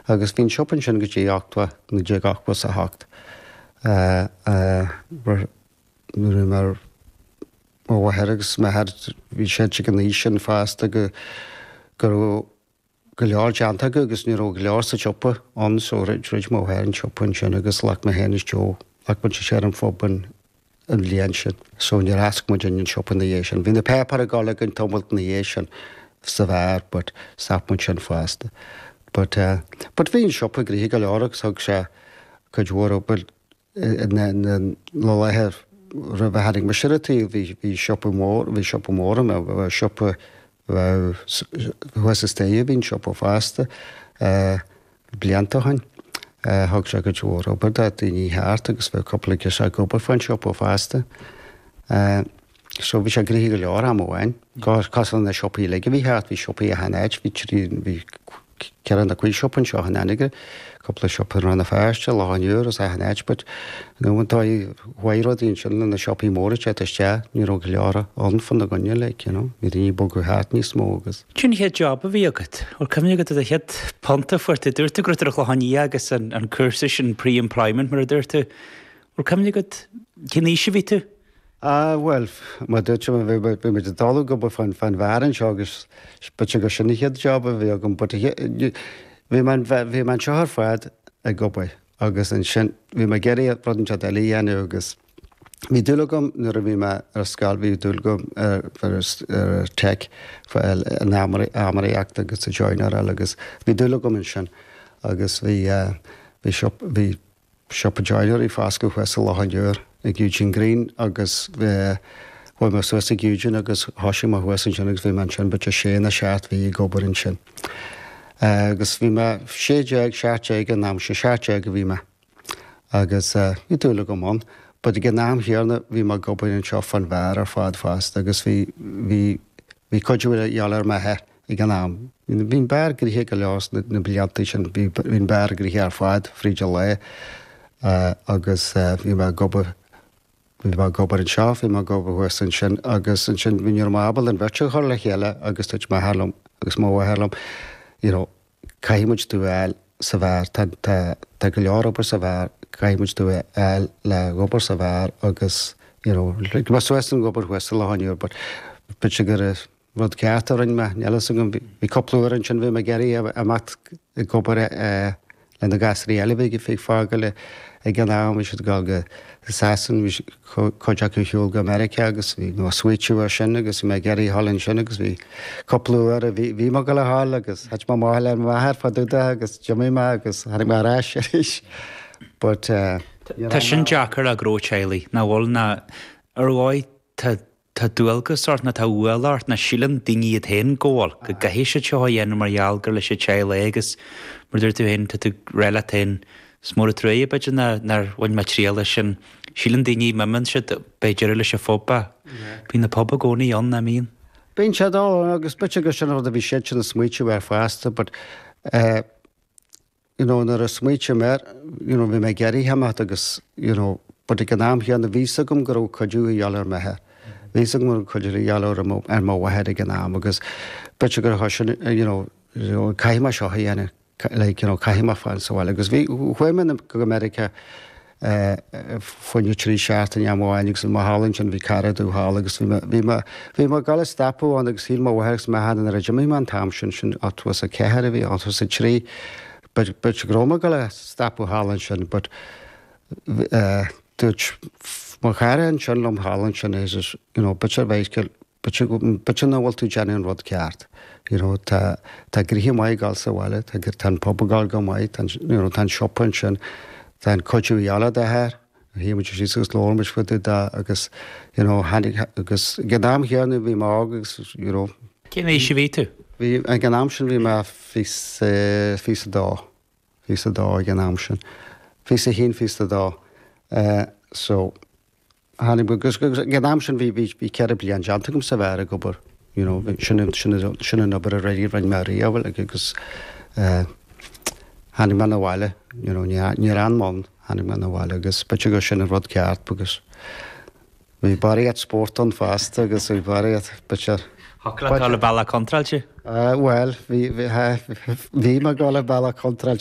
Agus bhí an siopa ansin go dtí 80, 1988. Nuair a bhí mo mháthair agus m'athair, bhí siad ag an aois sin fosta go go raibh go leor déanta acu agus ní raibh go leor sa tsiopa ann so dhruid mo mháthair an siopa ansin agus ghlac mé féin is Joe, ghlac muid siar an phub an an bhliain sin. So níor oscail muid an siopa ina dhiaidh sin. Bhí na páipéir ag dul againn tamalt ina dhiaidh sin sa bheár but stop muid sin fosta. But eh but bhí an siopa gnoitheach go leor agus thug sé cuid mhór obair na laetha roimh a tháinig mise ar an tsaol bhí bhí siopa mór, bhí siopa mór ann, bheadh siopa, bheadh thuas an staighre bhí an siopa fosta blianta ó shin. Thug sé cuid mhór obair do daoine thart agus bheadh cúpla girseach ag obair fán siopa fosta. So bhí sé gnoitheach go leor am amháin. Cosúil le na siopaí uilig a bhí thart, bhí siopaí achan áit, bhí trí, bhí ceithre nó cúig siopa anseo in Anagaire, cúpla siopa i Rann na Feirste, Loch an Iúir agus achan áit but you know an dóigh chuaigh rudaí ansin le na siopaí móra ag teacht isteach, ní raibh go leor ann fána gcoinne like you know, bhí daoine ag bogadh thart níos mó agus. Cén chéad job a bhí agat? Bhfuil cuimhne agat ar do chéad punt a fuair tú? Dúirt tú go raibh tú ar an Chlochán Liath agus an cúrsa sin pre-employment mar a dúirt tú. Bhfuil cuimhne agat cén aois a bhí tú? Ah, bhuel, mar dúirt mé, bhí muid ag dul ag obair fán fán bheár anseo agus b'fhéidir gur sin an chéad job a bhí agam but bhí mé bhí mé anseo ar fad ag obair agus ansin bhí mé ag iarraidh rud inteacht eile a dhéanamh agus bhí dúil agam nuair a bhí mé ar scoil bhí dúil agam ar ar ar tech an armóireacht agus an joinery agus bhí dúil agam ansin agus bhí bhí shop bhí siopa joinery fá oscailt thuas i Loch an Iúir ag Eugene Greene agus chuaigh mé suas ag Eugene agus thoisigh mé thuas ansin agus bhí mé ansin b'fhéidir sé nó seacht mhí ag obair ansin. Agus bhí mé 16, 17 an am sin, 17 a bhí mé agus bhí dúil agam ann. But ag an am chéanna bhí mé ag obair anseo fán bheár ar fad fosta agus bhí, bhí, bhí cuidiú a dhíobháil ar m'athair. Ag an am, bhí an beár gnoitheach go leor sna blianta sin, bhí an beár gnoitheach ar fad fríd an lá agus bhí mé ag obair, bhí mé ag obair anseo, bhí mé ag obair thuas ansin agus ansin bhí, ní raibh mé ábalta an bheirt a chur le chéile agus dúirt m'athair liom agus mo mháthair liom, you know, caithfidh muid tú a fháil sa bheár, tá, tá, tá go leor obair sa bheár, caithfidh muid tú a fháil le obair sa bheár agus, you know, lig mé suas an obair thuas sa Loch an Iúir but b'fhéidir gur Rud ceart a rinne mé, níl fhios agam. Bhí cúpla uair ansin bhí mé ag iarraidh imeacht ag obair le na gasraí eile a bhí ag fágáil ag an am, bhí siad ag dul go Sasain, bhí cuid acu ar shiúl go Meiriceá agus bhí mé ag smaoitiú air sin agus bhí mé ag iarraidh a dhul ansin agus bhí cúpla uair a bhí bhí mé ag dul a dhul agus thit mé amach le m'athair fá dtaobh de agus d'imigh mé agus tháinig mé ar ais arís. But eh. Tá sin deacair le gnó teaghlaigh, nach bhfuil ná ar dhóigh tá Tá dualgas ort nó tá ualach ort nó síleann daoine iad féin go bhfuil, go gcaithfidh siad seo a dhéanamh mar gheall gur leis an teaghlach é agus mar a dúirt tú féin, tá tú ag rá leat féin, is mór an truaighe b'fhéidir nár, nár bhain mé triail as sin. Síleann daoine, má imíonn siad, beidh deireadh leis an phub ach bíonn an pub i gcónaí ann, nach mbíonn? Bíonn siad ann agus b'fhéidir gur sin an rud a bhí siadsan ag smaoitiú air fosta but eh, you know nuair a smaoitím air, you know bhí mé ag iarraidh imeacht agus you know but ag an am chéanna bhí 'fhios agam go raibh cuidiú a dhíobháil ar m'athair. Bhí 'fhios agam go raibh cuidiú a dhíobháil ar mo ar mo mháthair ag an am agus b'fhéidir gur thoisigh you know you know caithfidh mé seo a dhéanamh like you know caithfidh mé fáil sa bhaile agus bhí chuaigh mé go Meiriceá fá choinne 3 seachtaine am amháin agus bhí mé thall ansin bhí cara domh thall agus bhí mé bhí mé bhí mé ag dul a stopadh ann agus shíl mo mháthair agus m'athair nuair a d'imigh mé an t-am sin sin 84 a bhí 83 b'fhéidir go raibh mé ag dul a stopadh thall ansin but dúirt mo chara ansin liom thall ansin is you know b'fhéidir bheidh B'fhéidir nach bhfuil tú ag déanamh an rud ceart. You know, tá, tá gnoithe maith ag dul sa bhaile, tá, tá an pub ag dul go maith, tá an, you know, tá an siopa ansin, tá an cuidiú a dhíobháil ar d'athair, shuigh muid síos agus labhair muid fá dtaobh de agus, you know, tháinig, agus ag an am chéanna bhí mé óg agus, you know. Cén aois a bhí tú? Bhí, ag an am sin bhí mé fiche, 22, 22 ag an am sin. 21, 22. Eh, so. Tháinig agus ag an am sin bhí bhí 4 bliain déanta agam sa bheár ag obair you know sin sin sin an obair a rinne rinne mé riamh agus eh tháinig mé 'na bhaile you know ní níor fhan mé ann tháinig mé 'na bhaile agus b'fhéidir gur sin an rud ceart agus bhí barraíocht spórt ann fosta agus bhí barraíocht b'fhéidir Thiocfadh leat dul an bealach contráilte? Eh bhuel bhí bhí bhí mé ag dul an bealach contráilte.